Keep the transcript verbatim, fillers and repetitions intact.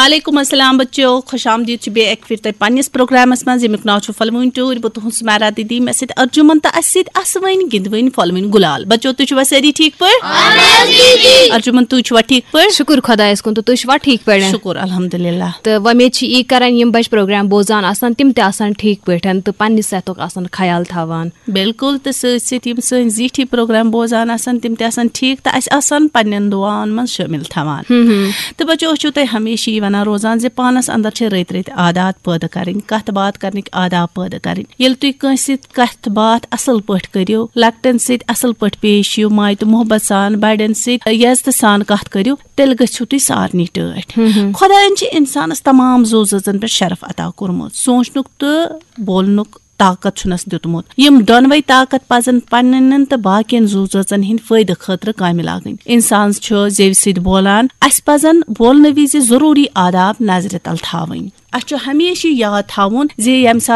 وعلیکم السلام بچو، خوش آمدید چھِ بیٚیہِ اَکہِ پھِرِ تۄہہِ پننِس پروگرامس منٛز، ییٚمیُک ناو چھُ پھۄلوٕنۍ ٹٲرۍ۔ بہٕ تُہُنٛد سمیرا دیدی، مےٚ سۭتۍ ارجُمن تہٕ اَسہِ سۭتۍ آسوٕنۍ گِنٛدوٕنۍ پھۄلوٕنۍ گُلال۔ بچو، تُہۍ چھِوا سٲری ٹھیٖک پٲٹھۍ؟ اہن حظ دیدی۔ ارجُمن، تُہۍ چھِوا ٹھیٖک پٲٹھۍ؟ شُکُر خۄدایَس کُن، تہٕ تُہۍ چھِوا ٹھیٖک پٲٹھۍ؟ شُکُر الحمدللہ۔ تہٕ وۄمید چھِ یی کران، یِم بچہِ پروگرام بوزان آسان، تِم تہِ آسان ٹھیٖک پٲٹھۍ تہٕ پننہِ صحتُک آسان خیال تھاوان۔ بِلکُل، تہٕ سۭتۍ سۭتۍ یِم سٲنۍ زیٖٹھی پروگرام بوزان آسان، تِم تہِ آسان ٹھیٖک تہٕ اَسہِ آسان پننٮ۪ن دُعاہَن منٛز شٲمِل تھاوان۔ ہم ہم۔ تہٕ بچو، أسۍ چھِو تۄہہِ ہمیشہِ یی وَنان روزان زِ پانَس اَندَر چھِ رٕتۍ رٕتۍ عادات پٲدٕ کَرٕنۍ، کَتھ باتھ کَرنٕکۍ آداب پٲدٕ کَرٕنۍ۔ ییٚلہِ تُہۍ کٲنٛسہِ سۭتۍ کَتھ باتھ اَصٕل پٲٹھۍ کٔرِو، لۄکٹٮ۪ن سۭتۍ اَصٕل پٲٹھۍ پیش یِیِو، ماے تہٕ محبت سان بَڑٮ۪ن سۭتۍ عزتہٕ سان کَتھ کٔرِو، تیٚلہِ گٔژھِو تُہۍ سارنٕے ٹٲٹھۍ۔ ہم ہم۔ خۄدایَن چھِ اِنسانَس تمام زُو زٲژَن پٮ۪ٹھ شرف عطا کوٚرمُت، سونٛچنُک تہٕ بولنُک طاقت چھُنس دیُتمُت۔ یِم دۄنوَے طاقت پزن پننٮ۪ن تہٕ باقین زُو زٲژن ہٕنٛدۍ فٲیدٕ خٲطرٕ کامہِ لاگٕنۍ۔ انسان چھُ زیوِ سۭتۍ بولان، اسہِ پزن بولنہٕ وِزِ ضروٗری آداب نظرِ تل تھاوٕنۍ۔ اسہِ چھُ ہمیشہِ یاد تھاوُن زِ ییٚمہِ ساتہٕ